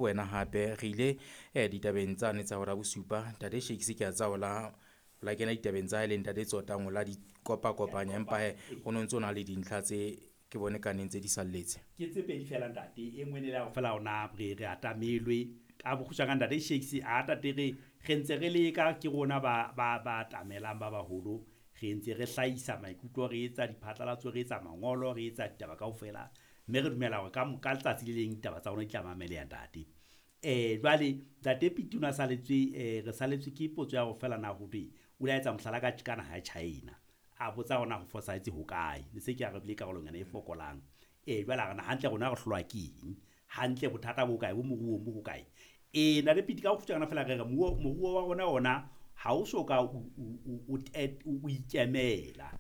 Wena hape re ile ditabeng tsane tsa hora bosupa. Ntate Shakes ke a tseba o la la kena ditabeng tsa hae le ntate Tsotang o la di kopa-kopanya, empa he o no ntso na le dintlha tse ke bone ka neng tse di salletse. Ke tse pedi fela, ntate. E nngwe ne le ya hore fela ona re atamelwe ka bokgutshwanyane, ntate Shakes a tate re ntse re leka, ke rona ba atamelang ba baholo, re ntse re hlahisa maikutlo, re etsa diphatlalatso, re etsa mangolo, re etsa ditaba kaofela, mme re dumela hore ka letsatsi le leng ditaba tsa rona di tla mameleha, ntate. Jwale ntate Piti o na saletswe, re saletswe ke potso ya hore fela na ho thwe o ile a etsa mohlala ka naha ya China, a botsa hore na ho fosahetse hokae, ne se ke arabile karolong yona e fokolang. Jwale a re na hantle rona re hlolwa ke eng, hantle bothata bo kae, bo moruong bo hokae. Ntate Piti, ka bokgutshwanyane fela re re moruo wa rona ona ha o so ka o ikemela.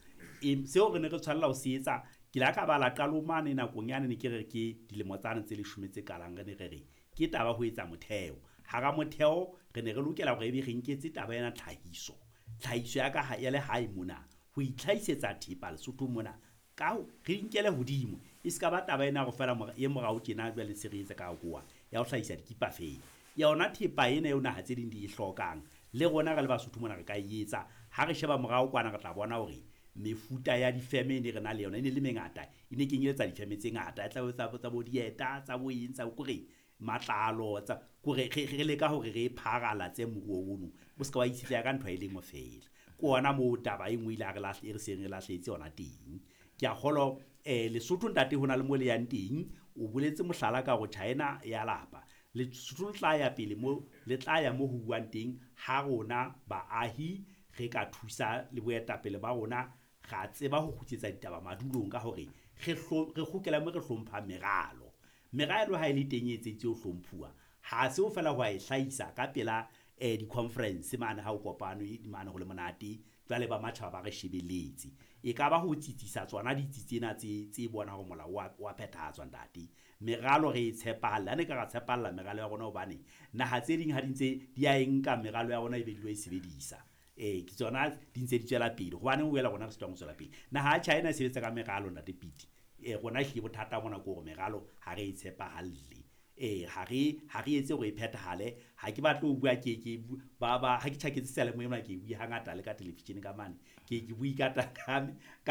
Seo re ne re tshwanela ho se etsa, ke la ka bala qalong mane nakong yane ne ke re ke dilemo tsane tse 10 tse qalang, re ne re re ke taba ho etsa motheo. Hara motheo re ne re lokela hore ebe re nketse taba ena tlhahiso. Tlhahiso ya ka ya lehae mona, ho itlhahisetsa thepa Lesotho mona, ka re inkele hodimo. E ska ba taba ena hore fela e morao tjena jwale se re etsa ka koa ya ho hlahisa dikipa fela. Yona thepa ena eo naha tse ding di e hlokang, le rona re le Basotho mona re ka e etsa. Ha re sheba morao kwana re tla bona hore mefuta ya difeme e ne re na le yona e ne le mengata, e ne kenyeletsa difeme tse ngata, e tla tsa bo dieta, tsa bo eng, tsa kore matlalo, tsa kore re leka hore re pharalatse moruo ono, o ska wa itshetleha ka ntho e le nngwe fela. Ke ona moo taba e nngwe ile re lahle, e re seng re lahlehetse yona teng. Ke a kgolwa Lesotho ntate hona le mo le yang teng, o boletse mohlala ka hore China ya lapa. Lesotho le tla ya pele mo, le tla ya mo ho buang teng ha rona baahi re ka thusa le boetapele ba rona, ra tseba ho kgutlisetsa ditaba madulong ka hore re kgutlela mo re hlomphang meralo. Meralo ha e le teng e etseditswe ho hlomphuwa, ha se ho fela ho a e hlahisa ka pela di-conference mane ha o kopanwe mane ho le monate, jwale ba matjhaba ba re shebeletse. E ka ba ho tsitsisa tsona ditsi tsena tse bona hore molao wa phethahatswa, ntate. Meralo re e tshepahalla, ha ne ka ra tshepahalla meralo ya rona, hobane naha tse ding ha di ntse di a e nka meralo ya rona e be di lo e sebedisa. Ke tsona di ntse di tswela pele, hobaneng o boela rona re sitwang ho tswela pele. Naha ya China e sebetsa ka meralo, ntate Piti. Rona ehlile bothata mona ke hore meralo ha re e tshepahalle. Ha re etse hore e phethahale. Ha ke batle ho bua, ke ba ha ke tjhaketse seyalemoyeng mona, ke bue hangata le ka television ka mane. Ke bue ka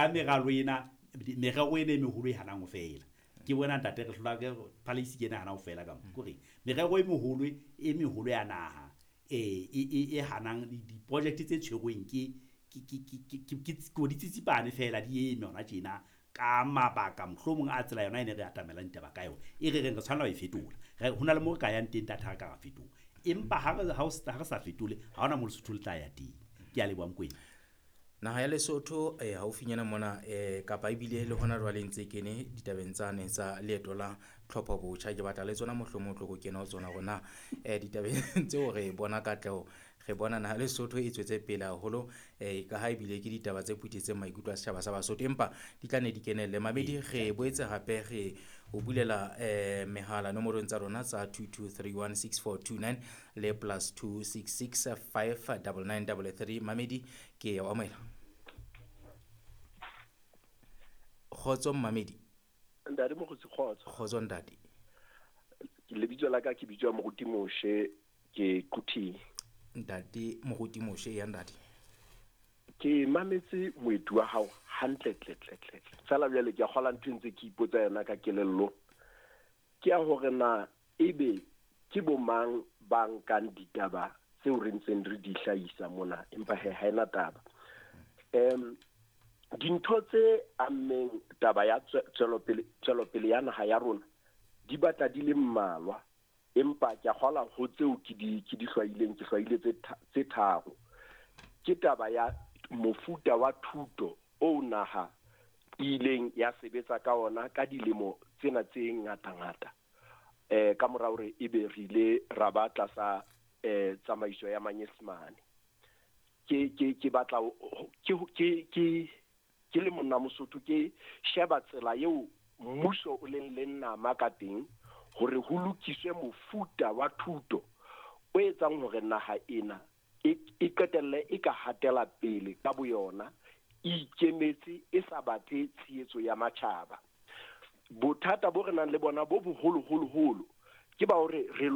meralo ena, merero ena e meholo e hanang ho fela. Ke bona ntate re hlola ke palace ke ena e hanang ho fela ka mo. Ke hore merero e meholo, e meholo ya naha, e hanang di-project tse tshwerweng ke di tsitsipane fela di eme hona tjena ka mabaka mohlomong a tsela yona e ne re atamelang ditaba ka yona, e re reng re tshwanela ho e fetola. Ho na le mo re ka yang teng ntate ha re ka ra fetola, empa ha re sa fetole ha hona mo Lesotho le tla ya teng. Ke a leboha Mokoena. Naha ya Lesotho haufinyana mona kapa ebile le hona jwale ntse kene ditabeng tsane tsa leeto la tlhopho botjha, ke batla le tsona mohlomong o tlo kena ho tsona rona ditabeng tseo re bona katleho, re bona naha Lesotho e tswetse pele haholo, ka ha ebile ke ditaba tse phuthetseng maikutlo a setjhaba sa Basotho, empa di tla ne di kenelle. Mamedi, re boetse hape re o bulela mehala nomorong tsa rona tsa 22316429 le +266 59933. Mamedi, ke ya o amohela. Kgotso Mamedi. Ntate Mokgotsi, kgotso. Kgotso ntate. Lebitso la ka ke bitswa Moruti Moshe, ke Quthing. Ntate Moruti Moshe, ya ntate. Ke mametse moeti wa hao hantle tle tle tle. Fela jwale ke a kgola ntho ntse ke ipotsa yona ka kelello. Ke ya hore na ebe ke bo mang ba nkang ditaba tseo re ntseng re di hlahisa mona, empa he ha ena taba. Dintho tse ammeng taba ya tswelopele ya naha ya rona di batla di le mmalwa, empa ke a kgola ho tseo ke di hlwaileng, ke hlwaile tse tharo. Ke taba ya mofuta wa thuto o naha ileng ya sebetsa ka ona ka dilemo tsena tse ngata-ngata, ka mora hore ebe re ile ra ba tlasa tsamaiso ya Manyesemane. Ke batla ke le monna Mosotho, ke sheba tsela eo mmuso o leng le nama ka teng hore ho lokiswe mofuta wa thuto o etsang hore naha ena e qetelle e ka hatela pele ka boyona, e ikemetse, e sa batle tshehetso ya matjhaba. Bothata bo re nang le bona bo boholo holo holo ke ba hore re